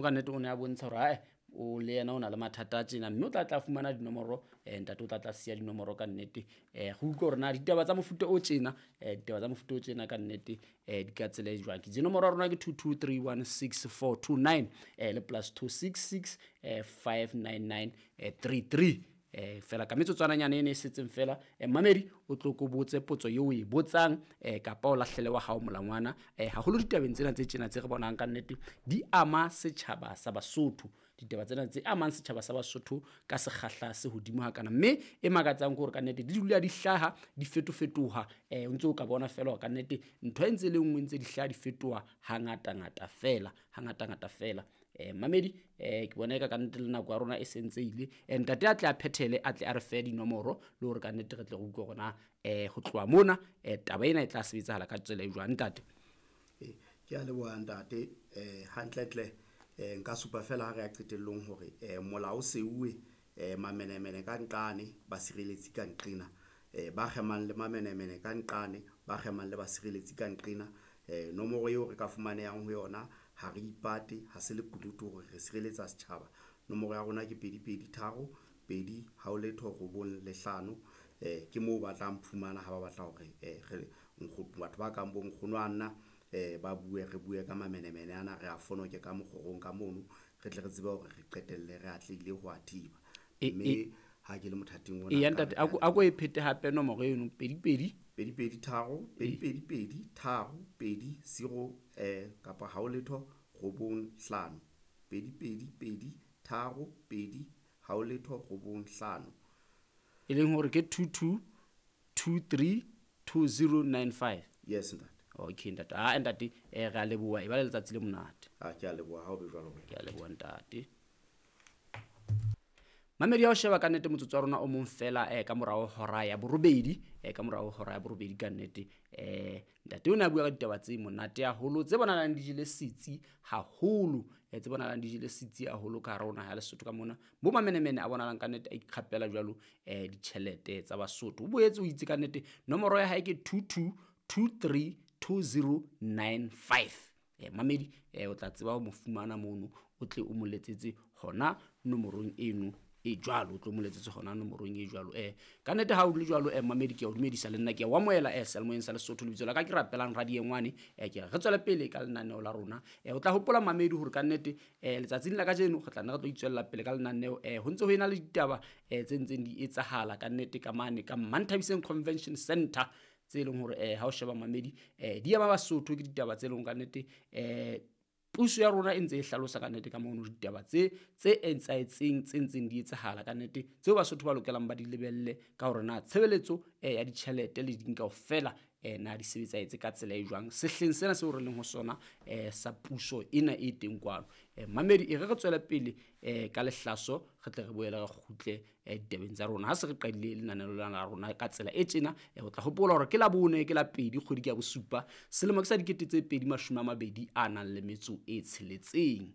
Ka nnete o ne a bontsha hore ae o le yena o na le mathata a tjena, mme o tla tla fumana dinomoro, ntate o tla tla siya dinomoro ka nnete. Re utlwe hore na ditaba tsa mofuta o tjena, ditaba tsa mofuta o tjena ka nnete, di ka tsela e jwang. Ke itse nomoro ya rona ke 22316429, le plus 266 599 33. Fela ka metsotswananyana ene e setseng fela, mamedi o tlo ko botse potso eo o e botsang, kapa o lahlele wa hao molangwana, haholo ditabeng tsena tse tjena tse re bonang ka nnete di ama setjhaba sa Basotho. Ditaba tsena tse amang setjhaba sa Basotho ka sekgahla se hodimo hakana, mme e makatsang ke hore ka nnete di dula di hlaha di fetofetoha. O ntse o ka bona fela hore ka nnete ntho e ntse e le nngwe ntse di hlaha di fetoha hangatangata fela, hangatangata fela. Mamedi, ke bona eka ka nnete le nako ya rona e sentse ile. Ntate a tle a phethele, a tle a re fe dinomoro le hore ka nnete re tle re utlwe hore na, ho tloha mona, taba ena e tla sebetsahala ka tsela e jwang, ntate? Ke a leboha ntate. Hantlentle, nka supa fela ha re ya qetellong hore, molao o seuwe, mamenemene ka nqane, basireletsi ka nqena. Ba kgemang le mamenemene ka nqane, ba kgemang le basireletsi ka nqena. Nomoro eo re ka fumanehang ho yona, ha re ipate, ha se lekunutu hore re sireletsa setjhaba. Nomoro ya rona ke 2 2 3 2 hao letho 9 le 5. Ke moo ba tlang phumana ha ba batla hore, re batho ba kang bo nkgono a nna, ba bue, re bue ka mamenemene ana, re a fonoke ka mokgorong ka mono, re tle re tsebe hore re qetelle re atlehile ho a thiba. Mme ha ke le mothating ona, Eya, ntate, a ko e phete hape nomoro eno, 2 2. 2 2 3, 2 2 2 3, 2 0, kapa hao letho 9 5. 2 2 2 3, 2 hao letho 9 5. E leng hore ke 2 2 2 3 2 0 9 5. Yes, ntate. Okay, ntate. Ah, ntate, re a leboha. E ba le letsatsi le monate. Ah, ke a leboha, ha o be jwalo wena. Ke a leboha, ntate. Mamedi ya ho sheba ka nnete motsotso wa rona o mong fela, ka morao hora ya borobedi, ka morao hora ya borobedi ka nnete. Ntate o ne a bua ka ditaba tse monate haholo, tse bonahalang di jele setsi haholo, tse bonahalang di jele setsi haholo ka hare ho naha ya Lesotho ka mona. Bo mamenemene a bonahalang ka nnete a ikgapela jwalo, ditjhelete tsa Basotho. O boetse o itse ka nnete nomoro ya hae ke 2 2 2 3 2 0 9 5. Mamedi, o tla tseba ho mo fumana mono, o tle o mo letsetse hona nomorong eno e jwalo, o tlo mo letsetse hona nomorong e jwalo. Ka nnete ha o le jwalo, mamedi, ke a o dumedisa le nna, ke a o amohela, seyalemoyeng sa Lesotho. Lebitso la ka ke Rapelang Radiengwane. Ke re re tswele pele ka lenaneo la rona. O tla hopola mamedi hore ka nnete, letsatsing la kajeno re tla nna re tlo itswella pele ka lenaneo. Ho ntse ho ena le ditaba, tse ntseng di etsahala ka nnete ka mane ka Manthabiseng Convention Center, tse leng hore, ha o sheba mamedi, di ama Basotho, ke ditaba tse leng ka nnete, puso ya rona e ntse e hlalosa ka nnete ka mono ditaba tse etsahetseng, tse ntseng di etsahala ka nnete, tseo Basotho ba lokelang ba di lebelle ka hore na tshebeletso, ya ditjhelete le ding kaofela, na di sebetsahetse ka tsela e jwang sehleng sena seo re leng ho sona, sa puso ena e teng kwano. Mamedi, e re re tswele pele, ka lehlaso, re tle re boele re kgutle, ditabeng tsa rona. Ha se re qadile lenaneo lena la rona ka tsela e tjena, o tla hopola hore ke la bone, ke la pedi, kgwedi ke ya bosupa, selemo ke sa dikete tse pedi mashome a mabedi a nang le metso e tsheletseng.